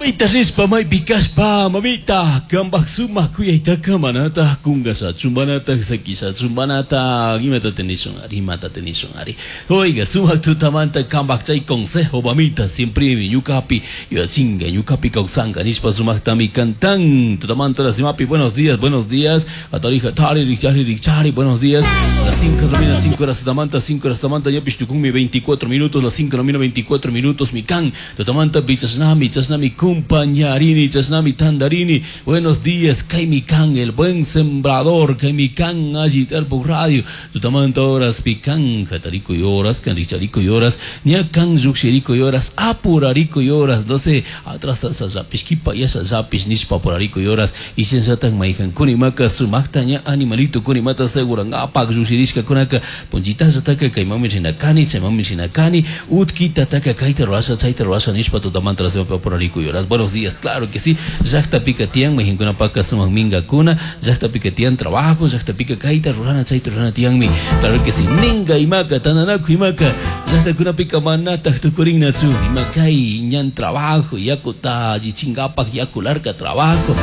Maita rishpa maypi kashpa mamita kambaj sumak kuyaytaka manataj kungashachu manataj sakishachu manataj imatata nishun ari imatata nishun ari oiga sumak tutamanta kambaj chay consejo mamita siempremi ñukapi yuyachinga ñukapi kawsanka nishpa sumaktami cantan tutamanta las imapi. Buenos días, buenos días, hatari hatari rikchari rikchari, buenos días. Las 5 de la mañana, 5 horas tutamanta, 5 horas tutamanta ñapish tukunmi 24 minutos, las 5 de la mañana, 24 minutos mi kan tutamanta chashnami chashnami compañarini chashnami tandarini. Buenos días, kaymi kan el buen sembrador, kaymi kan alli tarpuk radio tutamanta horas pican hatarikuy horas kan rikcharikuy horas ña kan llukshirikuy horas apurarikuy horas, no sé, atrasashallapish kipayashallapish nishpa apurarikuy horas y shinallatak mayjankuna imaka sumakta ña animalito kuna imata segurangapak llukshirishkakunaka punchitallataka kaymanmi rina kani chaymanmi rina kani utkitataka kayta rurasha chayta rurasha nishpa tutamanta las apurarikuy horas. Buenos días, claro que sí, llaqtapika tiyan mayjankunapaka sumak minkakuna, llaqtapika tiyan trabajo, llaqtapika kayta rurana chayta rurana tiyanmi, claro que sí, minga imaka tananaku imaka llaqtakunapika manataj tukurinnachu ima kay ñan trabajo yakuta allichinkapak yaku larka trabajo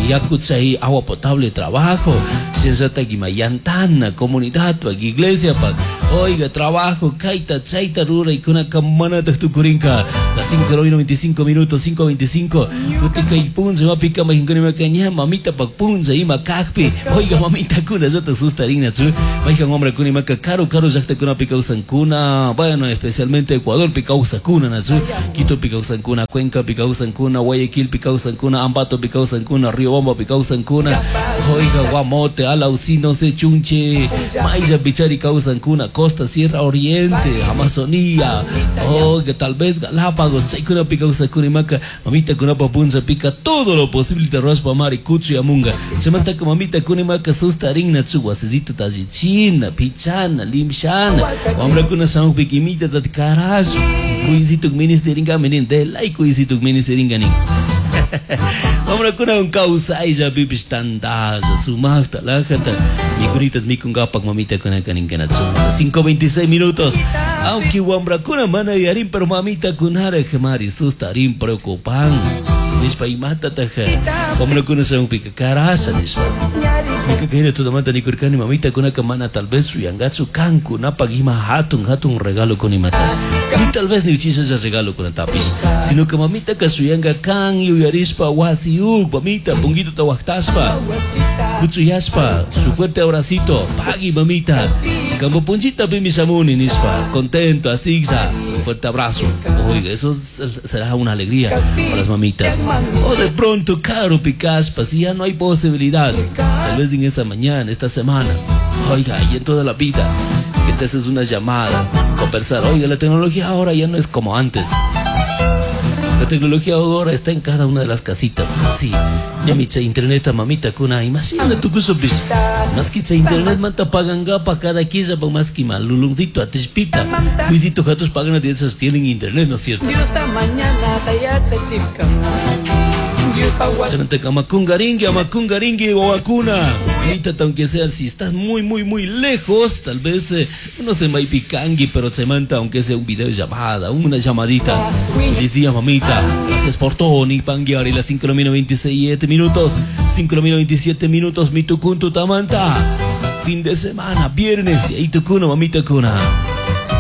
yaku chay agua potable trabajo shinallatak ima yantana comunidadpak iglesiapak oiga trabajo kayta chayta ruraykunaka manataj tukurinka. Las 5 de la 25 minutos, 5:25 kutin kay punlla mapika mayjankuna imaka ña mamitapak punlla ima kakpi oiga mamitakuna llata sustarinachu mayjan wambrakuna imaka karu karu llaqtakunapi kawsankuna, bueno, especialmente Ecuadorpi kawsakuna nachu Quitopi kawsankuna, Cuencapi kawsankuna, Guayaquilpi kawsankuna, Ambatopi kawsankuna, Riobambapi kawsankuna, oiga Guamote, Alausí, no sé, Chunche, Mayllapi chari kawsankuna, Costa, Sierra Oriente, Amazonía, oiga, tal vez Galápagos, chaykunapi kawsakuna imaka mamitakunapa punllapika todo lo posible rurashpa mari kuchuyamunga chaymantaka mamitakuna imaka sustarinnachu wasisitota allichina, pichana, limshana, wambrakuna shamukpika imitata karashpa kuysituk ministerinkami nin delay kuysituk ministerinka nin. Wambrakunawan kawsayllapipish tantalla sumakta lajata mikunita mikunkapak mamitakunaka ninkanachu. 5:26 minutos, aunque wambrakuna mana yuyarin pero mamitakunaraj mari sustarin preocupan nishpa imatataj wambrakuna shamukpika karasha nishpa. Ñuka hina tutamanta nikurkani mamitakunaka mana tal vez shuyangachu kankunapak ima hatun hatun regalo kunimata ni tal vez ni uchishalla regalo kunatapish, sino que mamitaka shuyanka kan yuyarishpa wasiyuk mamita punguitota waktashpa kuchuyashpa su fuerte abracito pagui mamita kambo punchitapimi shamuni nishpa contento asiglla un fuerte abrazo. Oiga, eso será una alegría para las mamitas. O de pronto caro picaspa si ya no hay posibilidad, tal vez en esa mañana, esta semana, oiga, y en toda la vida, que te haces una llamada, conversar. Oiga, la tecnología ahora ya no es como antes. La tecnología ahora está en cada una de las casitas. Sí, ya micha internet mamita kuna, imagina tu kusopish. Más que internet manta pagangapa cada quilla pa más que maluluncito atishpita. Luisito gatos pagan a esas tienen internet, ¿no es cierto? Amakungaringui, amakungaringui, wawakuna. Mamita, aunque sea, si estás muy, muy, muy lejos, tal vez, no sé, maipicangui, pero se manda, aunque sea un video llamada, una llamadita. Feliz día, mamita. Gracias por todo, ni panguear. Y las 5 de la mañana, 27 minutos. 5 de la mañana, 27 minutos, mi tucuntu tamanta. Fin de semana, viernes, y ahí tucuna, mamita cuna.